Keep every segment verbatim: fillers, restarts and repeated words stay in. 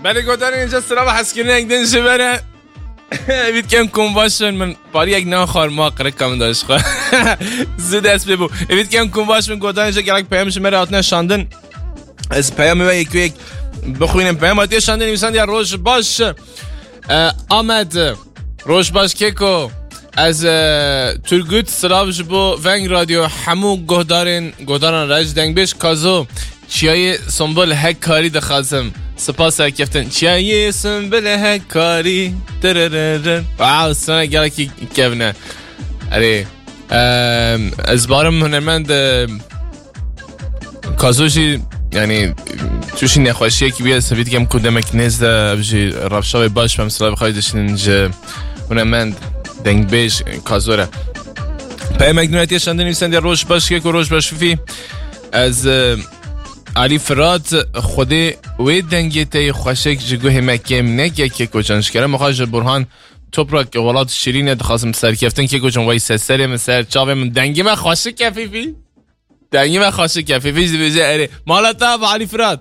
Belê godarên înca sira ve hezkirinek din ji vere. Evît kem kum baş in, min pariyek naxwar ma qirika min da ji xwe. Zû dest pê bû. Evît kem kum baş min godarên înca gelek peyam ji me re hatine şandin. Ez peyamê we yek yek bixwînim. Peyam hatiye şandin nivîsandiye roj baş. E, Amed, roj baş keko. Ez, e, Turgut, silav ji bo Veng Radyo, hemû guhdarên, guhdaran re ji dengbêj Kazo, Çiyayê Sumbul Hekkarî dixwazim. Spas serkeftin. Çiyayê Sumbul Hekkarî. Tırırırır. Wow, sana gelekî kevne. Erê. Em, ez barim hunermend, em, Kazo jî, yani, tuşî nexweşiyekî bûye, sevî dikem ku demek nêz de ev jî rewşa wê baş be, mesela, bixwayî dişinin ji hunermend dengbêj Kazo re. Peyamek nû hatiye şandin nivîsandiye roj baş keko, roj baş fîfî. Ez, e, Alî Firat, Xwedê wê dengê te yê xweşik ji guhê me kêm neke keko can. Ji kerema xwe ji Burhan Toprak, welat şirîne, dixwazim serkeftin keko can, wey se serê min, ser çavê min, dengê me xweşik e fîfî. Dengê me xweşik e fîfî, ji dibêje erê. Mala te ava Alî Firat.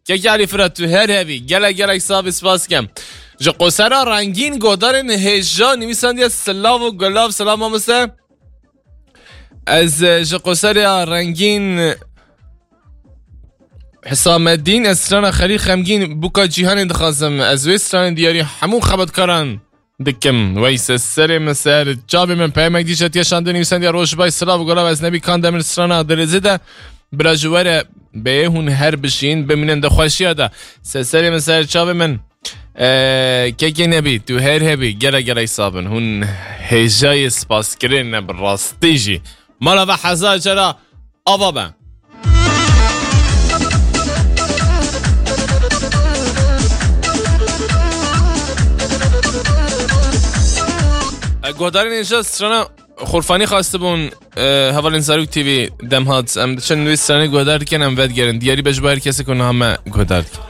Kekê Alî Firat, tu her hebî. Gelek gelek sax bî, spas dikem. Ji Qosera Rengîn, godarên hêja nivîsandiye silav û gulav. Silav mamoste. Ez, e, ji Qosera Rengîn, Hisamedîn, ez strana Xelîl Xemgîn, Bûka Cîhanê dixwazim. Ez wê stranê diyarî hemû xebatkaran dikim. Wey se serê min, ser çavê min. Peyamek dî jî hatiye şandin nivîsandiye roj baş, silav û gulav. Ez Nebî Kandemir, strana Dilêzê de. Bila ji we re bê, hûn her bijîn, bimînin di xweşiya de. Se serê min, ser çavê min. Ee, kekê Nebî, tu her hebî, gelek gelek sax bin. Hûn hêjayê spaskirin ne, bi rastî jî. Mala ve hezar cara ava be. E, guhdarên hêja strana Xurfanî xwestibûn, e, hevalên Zarok T V dem hat. Em diçin wê stranê guhdar dikin, em vedigerin. Diyarî be ji bo her kesê ku niha me guhdar dikin.